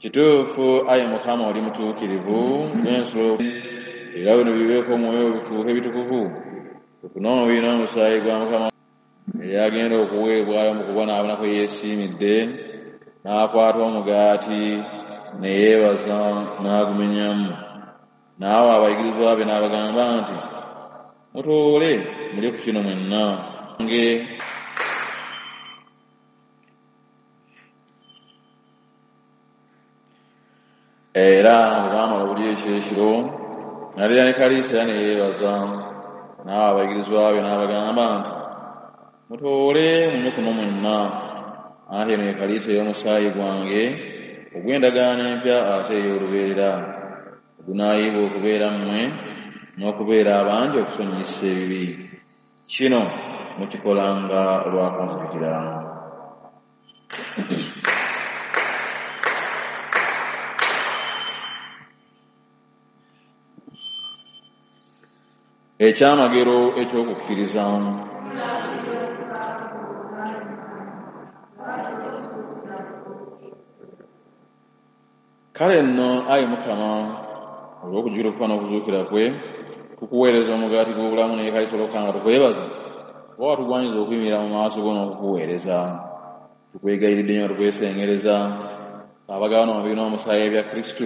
Kituufu ayi Mukama oli mutuukirivu n'ensolo era bino bibeeko omwoyo bituuke bitukuvu tufune omubiri n'omusaayi gwa Mukama eyagenda okuweebwayo mu kubonaabona kwe yeesiimidde n'akwata omugaati ne yeebaza n'agumenyamu n'awa abayigirizwa be n'abagamba nti mutoole mulye ku kino mwenna nge era bwe baamala okulya ekyekiro n'alira ne kaliisa era ne yeebaza n'awa abayigirizwa be n'abagamba nti mutoole munywe kuno mwenna anti eno ye kaliisa ey'omusaayi gwange ogw'endagaano empya ate ey'olubeerera ogunaayiibwa okubeera mmwe n'okubeera abangi okusonyiyisa ebibi. Kino mukikolanga lwa kunzijukira. Ekyamagero eky'okukkiriza. Kale nno ayi Mukama olw'okujjukira okufa n'okuzuukira kwe tukuweereza omugaati gw'obulamu n'ekaliisa olwokka nga tukwebaza oba watugwanyiza okuyimirira mu maaso go n'okukuweereza. Tukwegayiridde nnyo tukwesengereza abagabana omubiri n'omusaayi ebya Kristu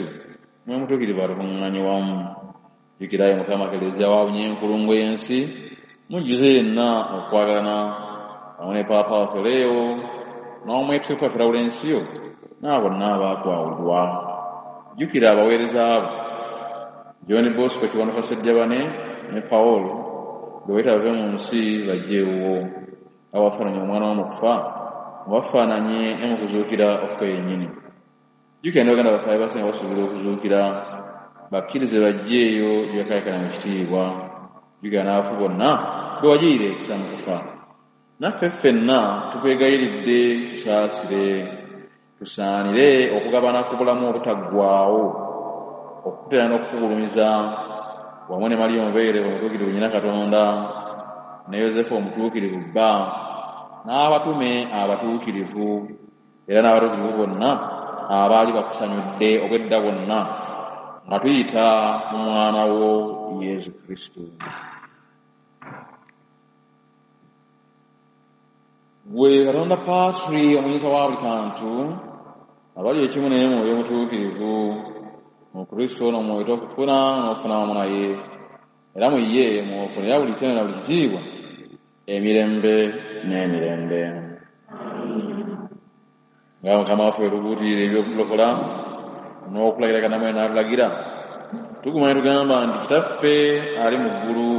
mwe mutuukirivu atukuŋŋaanye wamu. Jjukira ayi Mukama Kelezia wabunye enkulungo y'ensi mujjuze yenna okwagalana wamu ne Paapa waffe Leo n'omwepiskopi waffe Lawulensiyo n'abo bonna abaakwawulwa. Jjukira abaweereza abo John Bosco Kiwanuka Ssejjabane ne Paul be wayita bave mu nsi bajje ewuwo. Abafaananye omwana wo mu kufa mubafaananye ne mu kuzuukira okwe yennyini. Jjukira ne baganda baffe abeebase nga basuubira okuzuukira bakkirize bajje eyo gye bakaayakana mu kitiibwa. Jjukira n'abafu bonna be wagirira ekisa mu kufa. Naffe ffenna tukwegayiridde tusaasire tusaanire okugabana ku bulamu obutaggwaawo okukutera n'okukugulumiza wamu ne Mariya omubeerevu omutuukirivu nnyina Katonda ne Yozefu omutuukirivu bba n'abatume abatuukirivu era n'abatuukirivu bonna abaali bakusanyudde obwedda bwonna nga tuyita mu mwana wo Yesu Kristo. Gwe Katonda Patri omuyinza wa buli kantu abali ekimu naye Mwoyo Omutuukirivu mu Kristo ono mw'oyita okufuna n'okufuna wamu naye era mu ye mw'ofunira buli ttendo na buli kitiibwa emirembe n'emirembe. Nga Mukama waffe bwe tubuulirira eby'okulokola n'okulagira Katonda n'atulagira tuguma ne tugamba nti Kitaffe ali mu ggulu